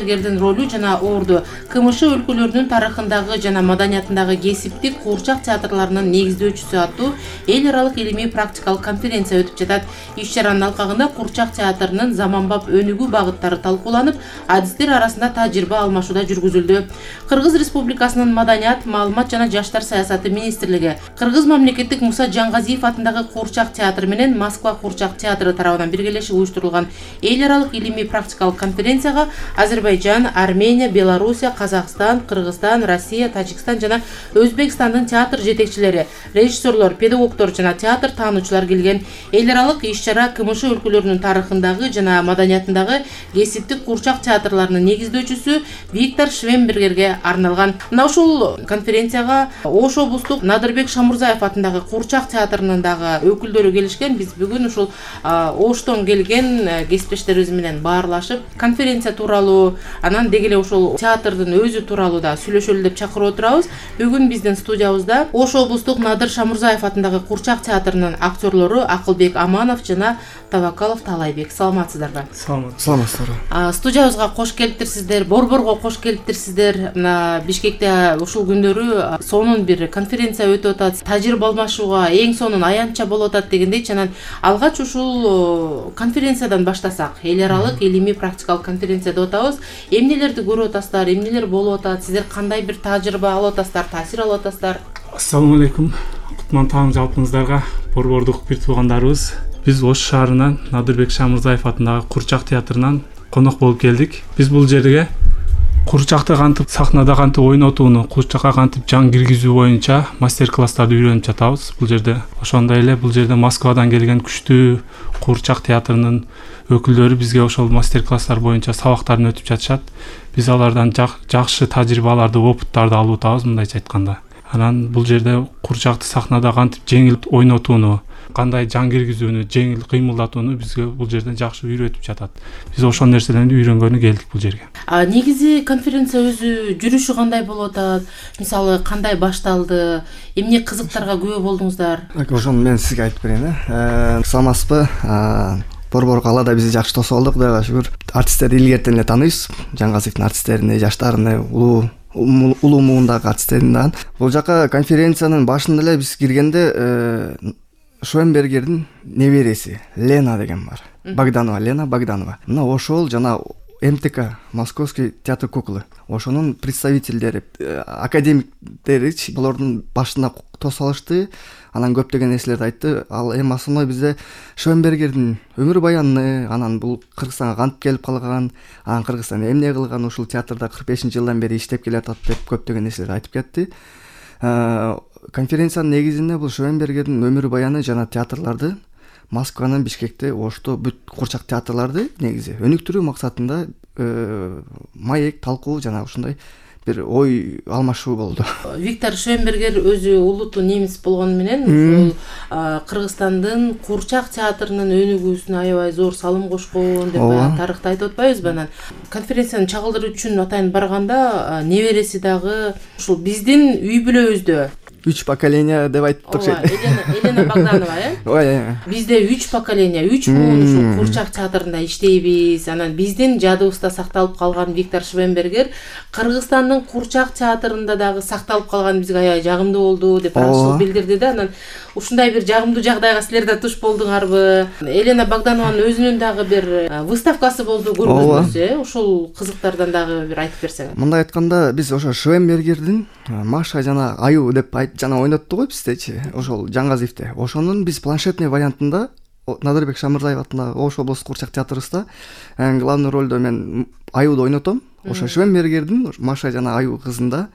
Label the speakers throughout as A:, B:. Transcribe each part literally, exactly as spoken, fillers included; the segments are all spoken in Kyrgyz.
A: Швенбергердин ролу жана орду КМШ өлкөлөрүнүн тарыхындагы жана маданиятындагы кесиптик куурчак театрларынын негиздөөчүсү аттуу эл аралык илимий практикалык конференция өтүп жатат. Иш чаранын алкагында куурчак театрынын заманбап өнүгүү багыттары талкууланып, адистер арасында тажрыйба алмашууда жүргүзүлдү. Кыргыз Республикасынын маданият, маалымат жана жаштар саясаты министрлиги, Кыргыз мамлекеттик Муса Жаңгазиев атындагы куурчак театры менен Москва куурчак театры тарабынан биргелешип уюштурулган эл аралык илимий практикалык конференцияга Азербайжан, Армения, Белоруссия, Казакстан, Кыргызстан, Россия, Тажикстан жана Өзбекстандын театр жетекчилери, режиссерлор, педагогдор жана театр таануучулар келген. Эл аралык иш-чара КМШ өлкөлөрүнүн тарыхындагы жана маданиятындагы кесиптик куурчак театрларынын негиздөөчүсү Виктор Швенбергерге арналган. Мына ушул конференцияга Ош облустук Надырбек Шамурзаев атындагы куурчак театрынын дагы өкүлдөрү келишкен. Биз бүгүн ушул Оштон келген кесиптештерибиз менен баарлашып, конференция тууралуу, анан деги эле ушул театрдын өзү тууралуу да сүйлөшөлү деп чакырып отурабыз. Бүгүн биздин студиябызда Ош облустук Надыр Шамурзаев атындагы куурчак театрынын актерлору Акылбек Аманов жана Табакалов Талайбек. Саламатсыздарбы?
B: Саламатсыздар.
A: Студиябызга кош келиптирсиздер, Борборго кош келиптирсиздер. Мына Бишкекте ушул күндөрү сонун бир конференция өтүп атат. Тажрыйба алмашууга эң сонун аянтча болуп атат дегендей, анан алгач ушул конференциядан баштасак, эл аралык илимий практикалык конференция деп атабыз. Эмнелерди көрүп атасыздар, эмнелер болуп атат, сиздер кандай бир тажрыйба алып атасыздар, таасир алып атасыздар?
B: Ассаламу алейкум. Кутман таң жалпыңыздарга, борбордук бир туугандарыбыз. Биз Ош шаарынан Надырбек Шамурзаев атындагы куурчак театрынан конок болуп келдик. Биз бул жерге куурчакты кантип сахнада кантип ойнотууну, куурчакка кантип жан киргизүү боюнча мастер-класстарды үйрөнүп жатабыз. Бул жерде ошондой эле бул жерде Москвадан келген күчтүү куурчак театрынын өкүлдөрү бизге ошол мастер-класстар боюнча сабактарын өтүп жатышат. Биз алардан жакшы тажрыйбаларды, опыттарды алып атабыз, мындайча айтканда. Анан бул жерде куурчакты сахнада кантип жеңил ойнотууну, кандай жан киргизүүнү, жеңил кыймылдатууну бизге бул жерден жакшы үйрөтүп жатат. Биз ошол нерселерди үйрөнгөнү келдик бул жерге.
A: А негизи конференция өзү жүрүшү кандай болуп атат? Мисалы кандай башталды? Эмне кызыктарга күбө болдуңуздар?
C: Ошону мен сизге айтып берейин, э. Саламатсызбы? Борбор калаада бизди жакшы тосуп алдык, Кудайга шүгүр. Артисттерди илгертен эле тааныйбыз. Жаңгазиевдин артисттерин, жаштарын, улуу улуу муундагы артисттерин да. Бул жака конференциянын башында эле биз киргенде Швенбергердин небереси Лена деген бар. Богданова, Лена Богданова. Мына ошол жана МТК, Московский театр куклы. Ошонун представителдери, академиктери булардын башына тосуп алышты. Анан көптөгөн нерселерди айтты. Ал эми основной бизде Швенбергердин өмүр баяны, анан бул Кыргызстанга кантип келип калган, анан Кыргызстанда эмне кылган, ушул театрда кырк бешинчи жылдан бери иштеп келатат деп көптөгөн нерселерди айтып кетти. Конференциянын негизинде бул Швенбергердин өмүр баяны жана театрларды Москванын, Бишкекте, Ошто бүт куурчак театрларды негизи өнүктүрүү максатында маек, талкуу жана ушундай бир ой алмашуу болду.
A: Виктор Швенбергер өзү улуттуу немис болгону менен ушул Кыргызстандын куурчак театрынын өнүгүүсүнө аябай зор салым кошкон деп тарыхта айтып атпайбызбы? Анан конференцияны чагылдыруу үчүн атайын барганда небереси дагы ушул биздин үй бүлөбүздө
C: үч поколения деп айттык.
A: Елена Богданова, э?
C: Ой,
A: бизде үч поколения, үч муун ушул куурчак театрында иштейбиз. Анан биздин жадыбызда сакталып калган Виктор Швенбергер Кыргызстандын куурчак театрында дагы сакталып калган бизге аябай жагымдуу болду деп аракчылык билдирди да. Анан ушундай бир жагымдуу жагдайга силер да туш болдуңарбы? Елена Богданованын өзүнүн дагы бир выставкасы болду, көргөзмөсү, э? Ушул кызыктардан дагы бир айтып берсең.
C: Мындай айтканда, биз ошо Швенбергердин Маша жана Аю деп жана ойноттук го биздечи, ошол Жаңгазиевде. Ошонун биз планшетный вариантында Надырбек Шамурзаев атындагы Ош облустук куурчак театрыбызда главный ролдо мен Аюду ойнотом. Ошо Швенбергердин Маша жана Аю кызында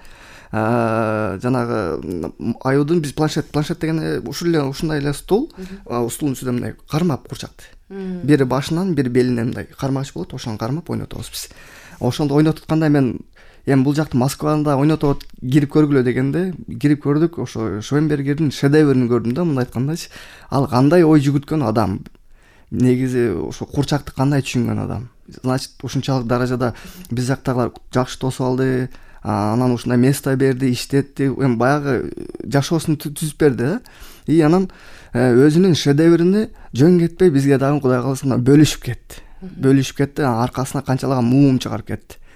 C: жанагы Аюдун биз планшет планшет деген ушул эле ушундай эле стул, стулдун үстүндө мындай кармап куурчакты. Бири башынан, бири белинен мындай кармагыч болот, ошону кармап ойнотобуз биз. Ошондо ойнотутканда мен эми бул жакты Москвада ойнотуп кирип көргүлө дегенде кирип көрдүк. Ошо Швенбергердин шедеврин көрдүм да, мындай айткандачы. Ал кандай ой жүгүткөн адам. Негизи ошо куурчакты кандай түшүнгөн адам. Значит, ушунчалык даражада биз жактагылар жакшы тосуп алды. Анан ушундай место берди, иштетти. Эми баягы жашоосун түзүп берди. И анан өзүнүн шедеврини жөн кетпей бизге дагы Кудай кааласа бөлүшүп кетти. Бөлүшүп кетти. Аркасына канчалаган муум чыгарып кетти.